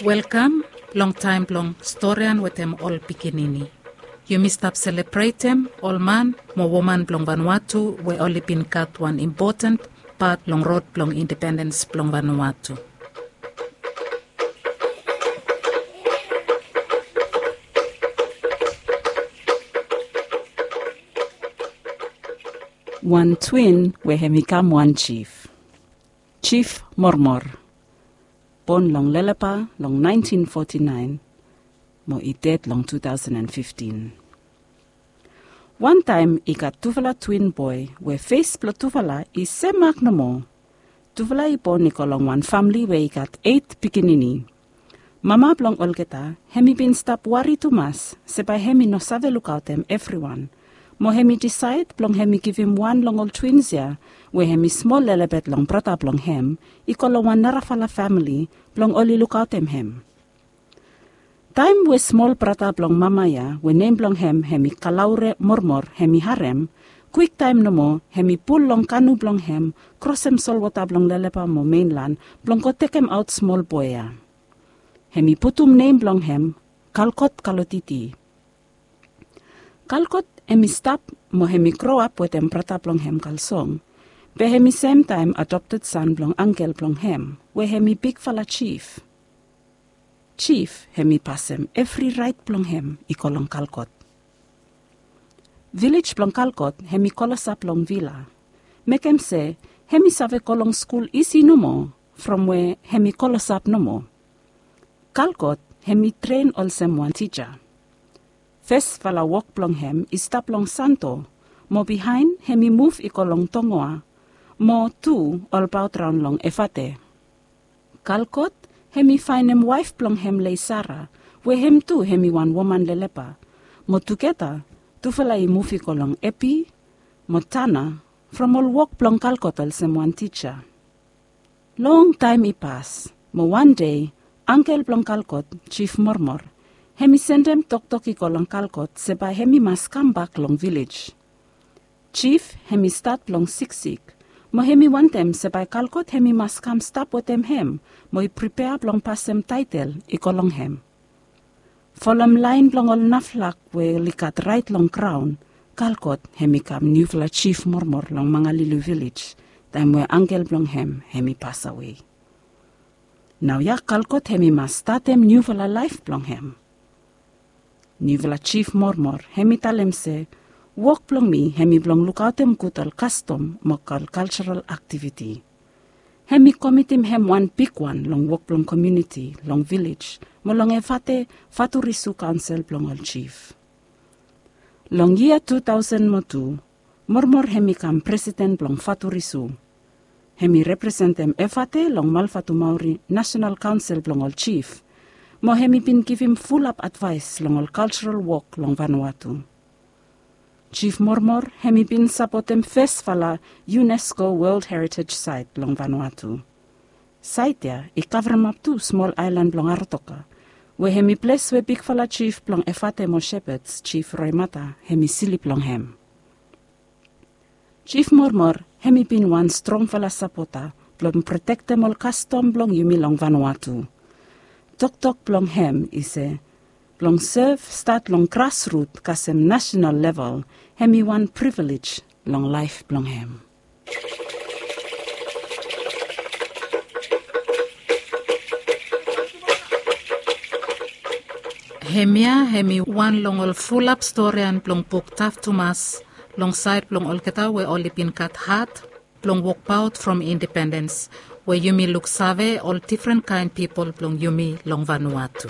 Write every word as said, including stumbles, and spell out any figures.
Welkam long taem blong storian wetem ol pikinini. Yumi stap selebretem ol man mo woman blong Vanuatu we oli bin gat wan impoten pat long rod blong independens blong Vanuatu. Wan twin we hem i kam wan jif. Jif Mormor. Bon long Lelepa long naentin foti naen mo i ded long tu taosen an fiftin. Wantaem i gat tufala twin boe we fes blong tufala i semak nomo. Tufala i bon i go long wan famle we i gat eit pikinini. Mama blong olgeta hem i bin stap wari tumas se bae hem i no save lukaotem evriwan. Mo hem i disaed blong hem i givim wan long ol twins ya we hem i smol lelebet long brata blong hem i go long wan narafala famle blong oli lukaotem hem. Taem we smol brata blong mama ya we nem blong hem hem i Kalaure Mormor hem i harem, kwiktaem nomo hem i pul long kanu blong hem krosem solwota blong Lelepa mo Menlan blong go tekemaot smol boe ya. Hem i putum nem blong hem Kalkot Kalotiti. Kalkot hem i stap mo hem i groap wetem brata blong hem Kalsong, be hem i semtaem adopted san blong angkel blong hem we hem i bigfala jif. Jif hem i pasem evri raet blong hem i go long Kalkot. Vilej blong Kalkot hem i klosap long vila, mekem se hem i save go long skul isi nomo from we hem i klosap nomo. Kalkot hem i tren olsem wan tija. Fesfala wok blong hem i stap long Santo, mo bihaen hem i muv i go long Tongoa, mo tu olbaot raon long Efate. Kalkot hem i faenem waef blong hem Leisara, we hem tu hem i wan woman Lelepa, mo tugeta tufala i muv i go long Epi mo Tana from ol wok blong Kalkot olsem wan tija. Longtaem i pas, mo wan dei angkel blong Kalkot, Jif Mormor, hem i sendem toktok i go long Kalkot se bae hem i mas kambak long vilej. Jif hem i stat blong siksik, mo hem i wantem se bae Kalkot hem i mas kam stap wetem hem mo i pripea blong pasem taetel i go long hem. Folem laen blong ol naflak we oli gat raet long graon, Kalkot hem i kam niufala Jif Mormor long Mangalili Vilej taem we angkel blong hem hem i pasawe. Naoia Kalkot hem i mas statem niufala laef blong hem. Niufala Jif Mormor hem i talem se, wok blong mi hem i blong lukaotem gud ol kastom mo ol kaljaral aktiviti. Hem i komitim hem wan bigwan long wok blong komuniti long vilej mo long Efate Faturisu Kaonsel blong ol Jif. Long yia tu taosen mo tu, Mormor hem i kam presiden blong Faturisu. Hem i representem Efate long Malfatumauri Nasenal Kaonsel blong ol Jif, mo hem i bin givim fulap advaes long ol kaljaral wok long Vanuatu. Jif Mormor hem i bin sapotem fesfala UNESCO World Heritage Site long Vanuatu. Saet ya i kavremap tu smol aelan blong Aratoka, we hem i ples we bigfala jif blong Efate mo Shepherds, Jif Roemata, hem i slip long hem. Jif Mormor hem i bin wan strongfala sapota blong protektem ol kastom blong yumi long Vanuatu. Toktok blong hem i se, blong sev stat long grasrut kasem nasenal level hem i wan privilej long laef blong hem. Hemia hem i wan long ol fulap storian blong buk Taf Tumas, long saed blong olgeta we oli bin gat hat blong wokbaot from independens, we yumi luksave ol difren kaen pipol blong yumi long Vanuatu.